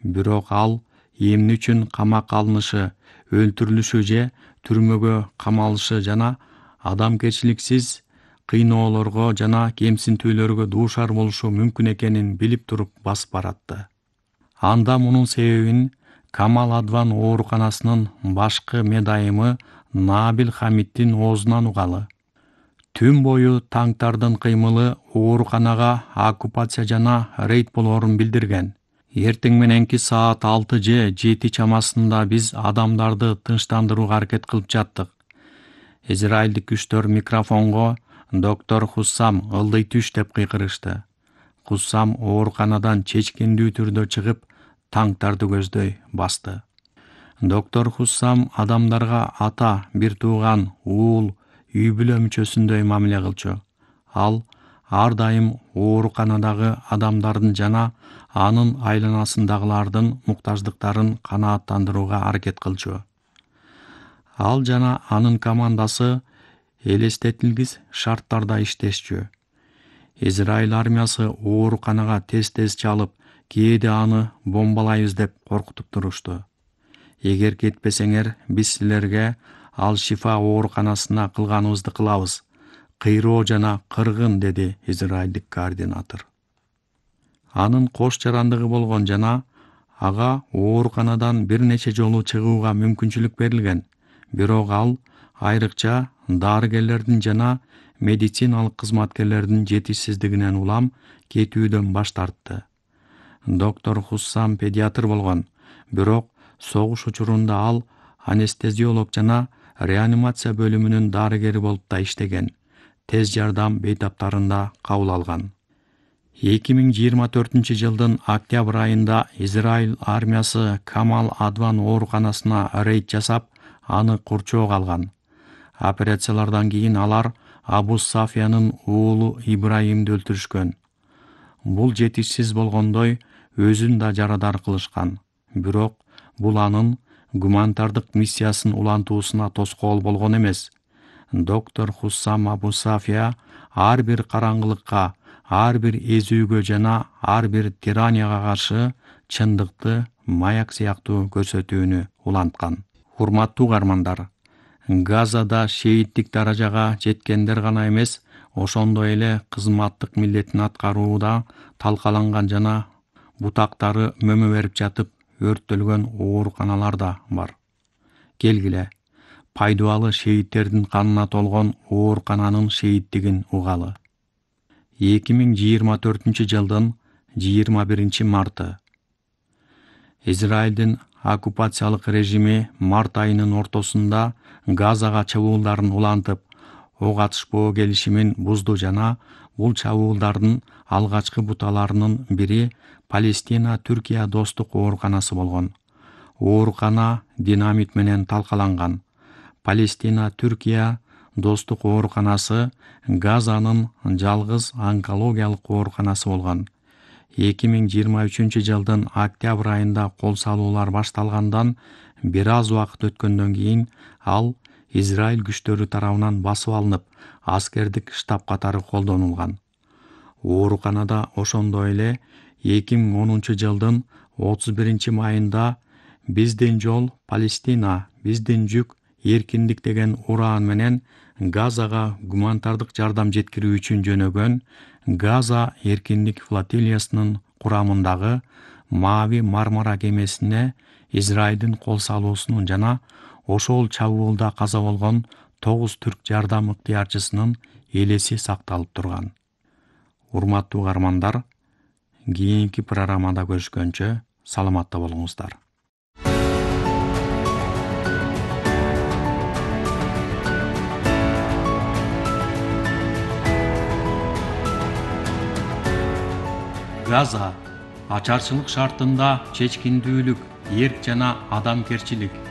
Бирок ал эмне үчүн камакка алынышы, өлтүрүлүшү же түрмөгө камалышы жана адамгерчиликсиз кыйноолорго жана кемсинтүүлөргө дуушар болушу мүмкүн экенин билип туруп басып баратты. Анда мунун себебин Камал Адван ооруканасынын башкы медайымы Набил Хамиддин оозунан угалы. Түн бою танктардын кыймылы ооруканага оккупация жана рейд болоорун билдирген. Эртең мененки саат 6 же 7 чамасында биз адамдарды тынчтандырууга аракет кылып жаттык. Израилдик күчтөр микрофонго доктор Хуссам ылдый түш деп кыйкырышты. Хуссам ооруканадан чечкиндүү түрдө чыгып, танктарды көздөй басты. Доктор Хуссам адамдарга ата, бир тууган, уул, үй бүлө мүчөсүндөй мамиле кылчу. Ал ар дайым ооруканадагы адамдардын жана анын айланасындагылардын муктаждыктарын канааттандырууга аракет кылчу. Ал жана анын командасы элестетилгис шарттарда иштешчү. Израиль армиясы ооруканага тез-тез чалып, кээде аны бомбалайбыз деп коркутуп турушту. Эгер кетпесеңер, биз силерге Ал Шифа ооруканасына кылганыбызды кылабыз. Кыйроо жана кыргын, деди израилдик координатор. Анын кош жарандыгы болгон жана ага ооруканадан бир нече жолу чыгууга мүмкүнчүлүк берилген. Бирок ал айрыкча дарыгерлердин жана медициналык кызматкерлердин жетишсиздигинен улам кетүүдөн баш тартты. Доктор Хуссам педиатр болгон, бирок согуш учурунда ал анестезиолог жана реанимация бөлүмүнүн дарыгери болуп да иштеген. Тез жардам бейтаптарында кабыл алган. 2024-жылдын октябрь айында Израиль армиясы Камал Адван ооруканасына рейд жасап, аны курчоого алган. Операциялардан кийин алар Абу Сафиянын уулу Ибраимди өлтүрүшкөн. Бул жетишсиз болгондой өзүн да жарадар кылышкан. Бирок бул анын гуманитардык миссиясын улантуусуна тоскоол болгон эмес. Доктор Хуссам Абу Сафия ар бир караңгылыкка, ар бир эзүүгө жана ар бир тиранияга каршы чындыкты маяк сыяктуу көрсөтүүнү уланткан. Урматтуу угармандар, Газада шейиттик даражага жеткендер гана эмес, ошондой эле кызматтык милдетин аткарууда талкаланган жана бутактары мөмө берип жатып өрттөлгөн ооруканалар да бар. Келгиле, пайдубалы шейиттердин канына толгон оорукананын шейиттигин угалы. 2024-жылдын 21-марты. Израилдин оккупациялык режими март айынын ортосунда Газага чабуулдарын улантып, ок атышпоо келишимин бузду жана бул чабуулдардын алгачкы буталарынын бири Палестина-Түркия достук ооруканасы болгон. Оорукана динамит менен талкаланган. Палестина-Түркия достук ооруканасы Газанын жалгыз онкологиялык ооруканасы болгон. 2023-жылдын октябрь айында кол салуулар башталгандан бир аз убакыт өткөндөн кийин ал Израиль күчтөрү тарабынан басып алынып, аскердик штаб катары колдонулган. Ооруканада ошондой эле 2010-жылдын 31-майында «Биздин жол Палестина, биздин жүк эркиндик» деген ураан менен Газага гуманитардык жардам жеткирүү үчүн жөнөгөн Газа эркиндик флотилиясынын курамындагы Мави Мармара кемесине Израилдин кол салуусунун жана ошол чабуулда каза болгон 9 түрк жардам ыктыярчысынын элеси сакталып турган. Урматтуу угармандар, кийинки программада көрүшкөнчө саламатта болуңуздар. Газа ачарчылык шартында чечкиндүүлүк, эрк жана адамгерчилик